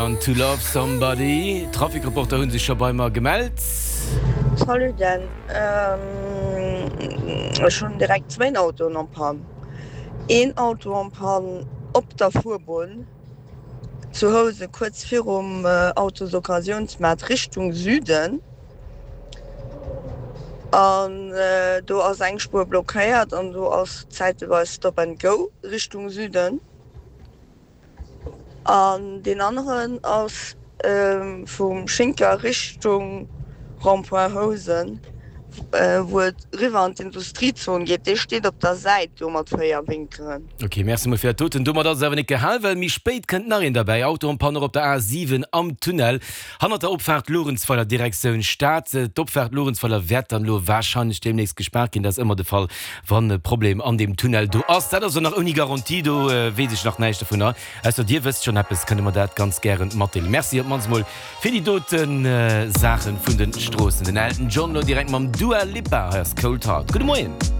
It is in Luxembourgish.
An To Love Somebody. D'Trafikreporter hu sech scho bei mer gemellt. Salut Dan, ech hunn direkt zwéin Autoen en panne. Een Auto en panne op der Fuerbunn zu Housen kuerz virum Autosoccasiounsmaart Richtung Süden an do ass eng Spuer blockéiert an do ass zäiteweis Stop and Go Richtung Süden. An deen aneren ass vum Schinker Richtung Rond-point Housen, wou et eriwwer an d'Industriezon geet. Dee steet op der Säit do mat 4 Winkelen. Ok, Merci mol fir dat doten. Domat ass et awer net gehal, well méi spéit kënnt nach een derbäi. Auto en panne och op der A7 am Tunnel hannert der Opfaart Luerenzweiler Direktioun Stad. D'Opfaart Luerenzweiler wäert dann elo warscheinlech deemnächst gespaart ginn. Dat ass ëmmer de Fall, Wann e Problem an deem Tunnel do ass, dat ass och nach ouni Garantie, do weess ech nach näischt dovunner, ausser Dir wësst schonn eppes, kënnt Der mer dat ganz gären matdeelen. Merci op d'mannst mol fir déi dote Saache vun de Stroossen. Den Elton John lo direkt mam Dua Lipa, hei ass Cold Heart. Gudde Moien.